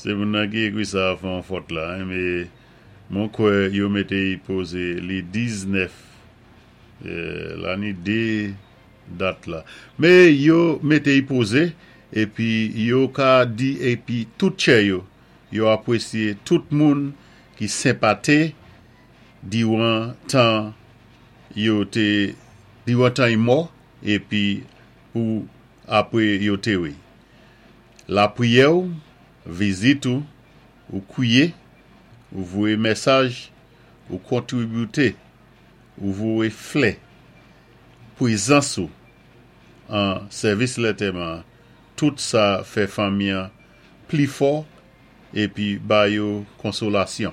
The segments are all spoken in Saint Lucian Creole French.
Sé moun nan ki ékwi sa fè an fòt la, mé mwen kwè yo mété i pozé li 19, la ni dé dat la. Mé yo mété i pozé épi yo ka di épi tout tchè yo, yo apwésyé tout moun ki senpaté diwan tan yo té diwan tan i mò épi pou apwé yo téwé. Lapriyè ou, vizit ou, ou kwié, ou voyé mésaj, ou kontribité, ou voyé flè, pwézans ou an sèvis lantèman, tout sa fè fanmi an pli fò épi ba yo konsolasyon.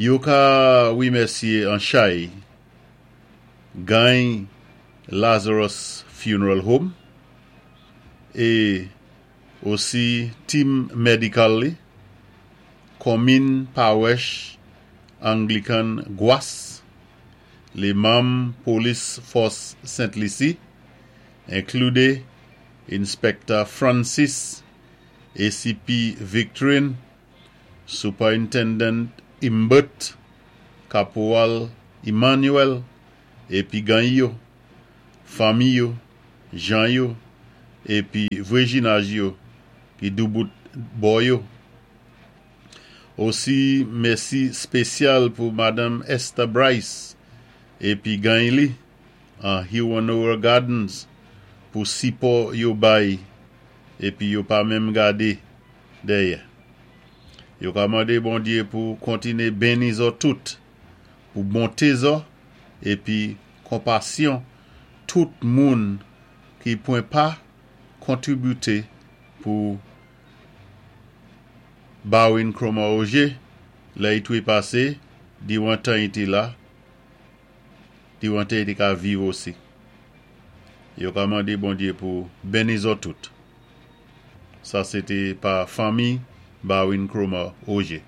Yo ka wimèsyé an chay gany Lazarus Funeral Home é osi team medical li, Konmin Pawèch Anglican Gwas, lé manm Polis Fòs Sent Lisi, enklidé Inspector Francis, ACP Victorine, Superintendent Imbert, Kaporal Emmanuel, épi gany yo, fanmi yo, jan yo, épi vwéjinaj yo ki doubout bò yo. Osi mèsi spésyal pou Madanm Esther Bryce épi gany li an Hewanorra Gardens pou sipò yo bay épi yo pa menm gadé dèyè. Yo ka mandé Bondyé pou kontiné benni zò tout, pou bonté zò épi konpasyon tout moun ki pwan pa kontribité pou Barwin Cromar Auger lè i twépasé diwan tan i té la, diwan tan i té ka viv osi. Yo ka mandé Bondyé pou benni zò tout. Sa sé té pa fanmi Barwin Cromar Auger.